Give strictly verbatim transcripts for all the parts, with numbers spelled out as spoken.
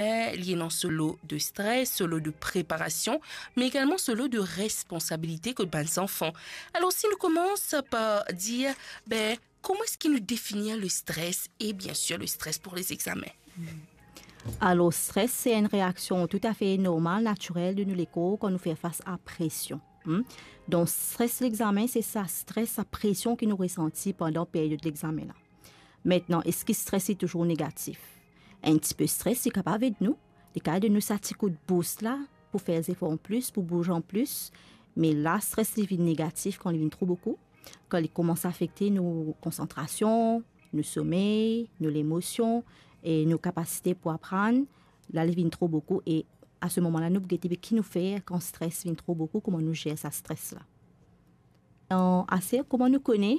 li ena so lo de stres, so lo de preparasion, me egalman so lo de responsabilite kot bann zanfan. Alor, si nou koumans par dir, be, kouma eski nou definir le stres e, biensir, le stres pour les examens? Alor, stres, se enn reaksion toutafe normal, natirel de nou lekor kan nou fer fas a presion. Hmm? Donk, stres lexamen, se sa stres, sa presion ki nou resanti pandan peryod lexamen la. Aster, eski stres li touzour negatif? Enn tipe stres, li kapav ed nou. Li kapav donn nou sa ti kout boost la pou fer zefor anplis, pou bouze anplis. Me la, stres, li vinn negatif kan li vinn tro boukou, kan li koumans afekte nou konsantrasion, nou somey, nou lemosion e nou kapasite pou aprann. La, li vinn tro boukou e a se moman la, nou pou gete ki nou fer kan stres vinn tro boukou, kouma nou zer sa stres la. Aster, kouma nou kone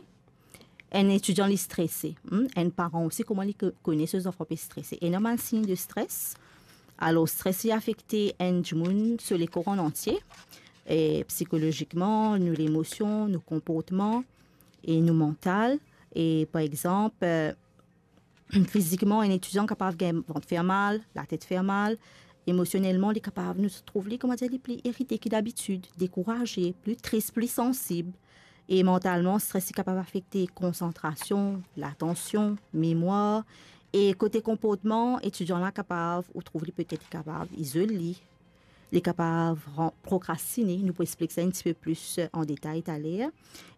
enn etidian li strese? Hmm? Enn paran osi, kouma li ko-, kone so zanfan pe strese? Ena bann sign de stres. Alor, stres li afekte enn dimoun so lekor an antie, e psikolozikman, nou lemosion, nou konportman e nou mantal. E par exanp, eh, fizikman, enn etidian kapav gagn vant fer mal, latet fer mal. Emosionelman, li kapav, nou trouv li, kouma dir, li pli irite ki dabitid, dekouraze, pli tris, pli sansib. E mantalman, stres li kapav afekte konsantrasion, latansion, memwar. E kote konportman, etidian la kapav, ou trouv li petet li kapav izol li, li kapav ran-, prokrastine, nou pou explik sa enn tipe plis, eh, an detay taler.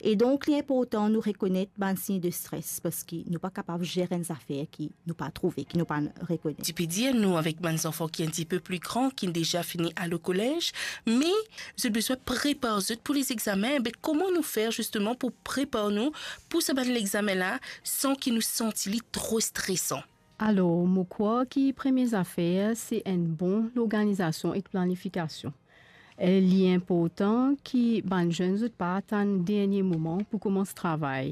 E donk, li inportan nou rekonet bann sign de stres, parski nou pa kapav zer enn zafer ki nou pa trouve, ki nou pa rekonet. Ti pe dir nou avek bann zanfan ki enn tipe pli gran, ki deza fini al kolez, me zot bizin prepar zot pou lexamen. Be, kouma nou fer zisteman pou prepar nou pou sa bann lexamen la, san ki nou santi li tro stresan? Alor, mo krwar ki premie zafer, se enn bon lorganizasion ek planifikasion. Eh, li inportan ki bann zenn zot pa atann dernie moman pou koumans travay.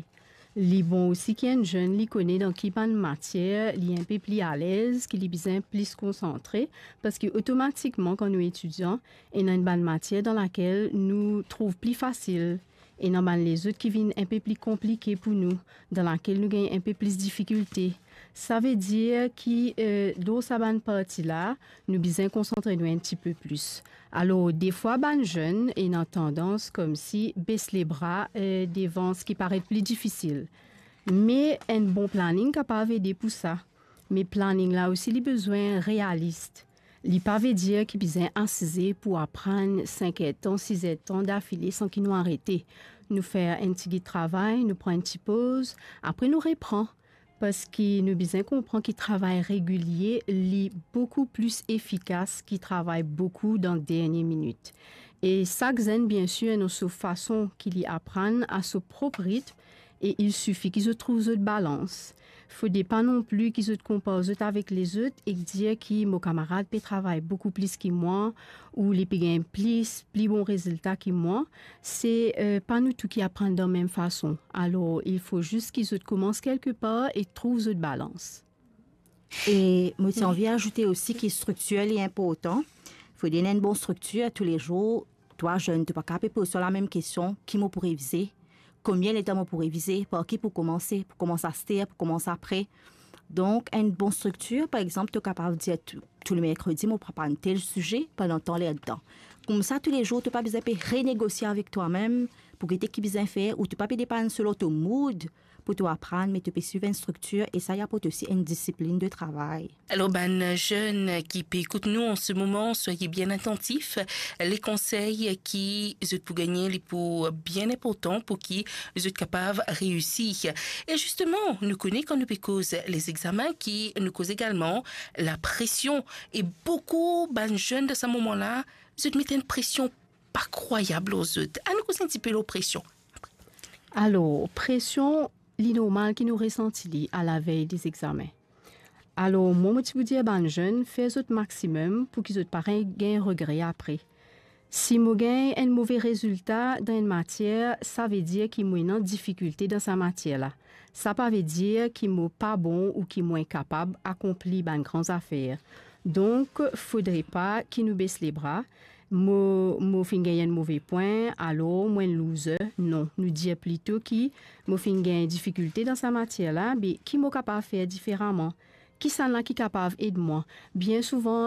Li bon osi ki enn zenn li kone dan ki bann matier li inpe pli alez, ki li bizin plis konsantre, parski otomatikman kan nou etidian, ena enn bann matier dan lakel nou trouv pli fasil, ena bann lezot ki vinn inpe pli konplike pou nou, dan lakel nou gagn inpe plis difikilte. Savedir ki, eh, dan sa bann parti la, nou bizin konsantre nou enn tipe plis. Alor, defwa bann zenn ena tandans koumsi bes lebra, eh, devan seki paret pli difisil. Me enn bon planing kapav ede pou sa. Me planing la osi, li bizin realis. Li pa ve dir ki bizin asize pou aprann sink er tan, sis er tan dafile san ki nou arete. Nou fer enn tigit travay, nou pran enn ti poz, apre nou repran. Parski nou bizin konpran ki travay regilie, li boukou plis efikas ki travay boukou dan dernie minit. E sak zenn, biensir, ena so fason ki li aprann a so prop ritm, e il sifi ki zot trouv zot balans. Fode pa non pli ki zot konpar zot avek lezot ek dir ki mo kamarad pe travay boukou plis ki mwa, ou li pe gagn plis, pli bon rezilta ki mwa. Se, eh, pa nou tou ki aprann dan mem fason. Alor, il fo zis ki zot koumans kelke par e trouv zot balans. E mo ti anvi azoute osi ki striktir li inportan. Fode ena enn bon striktir toulezour. Twa zenn, to pa kapav poz twa lamem kestion, ki mo pou revize, konbien letan mo pou revize, par ki pou koumanse, pou koumans aster, pou koumans apre. Donk, enn bon striktir, par exanp, to kapav dir tou, tou le merkredi, mo pou aprann tel size pandan tan lertan. Koumsa, toulezour, to pa bizin pe renegosie avek twa mem pou gete ki bizin fer, ou to pa pe depann selon to mood pou to aprann, me to pe swiv enn striktir, e sa, li aport osi enn disiplinn de travay. Alor, bann zenn ki pe ekout nou an se moman, swaye bien atantif. Le konsey ki zot pou gagne, li pou bien inportan pou ki zot kapav reisi. E zisteman, nou kone kan nou pe koz lezegzamin ki nou koz egalman lapresion. E boukou bann zenn dan sa moman la, zot met enn presion pa krwayab lor zot. Anou koz enn tipe lor presion. Alor, presion, li normal ki nou resanti li alavey lezegzamin. Alor, mwa, mo ti pou dir bann zenn, fer zot maximem pou ki zot pa re-, gagn regre apre. Si mo gagn enn move rezilta dan enn matier, sa ve dir ki mo ena difikilte dan sa matier la. Sa pa ve dir ki mo pa bon ou ki mo inkapab akonpli bann gran zafer. Donk, fodre pa ki nou bes lebra. Mo, mo finn gagn enn move pwin, alor mo enn loser. Non, nou dir plito ki mo finn gagn difikilte dan sa matier la, be ki mo kapav fer diferaman? kisannla ki kapav ed mwa. Bien souvan,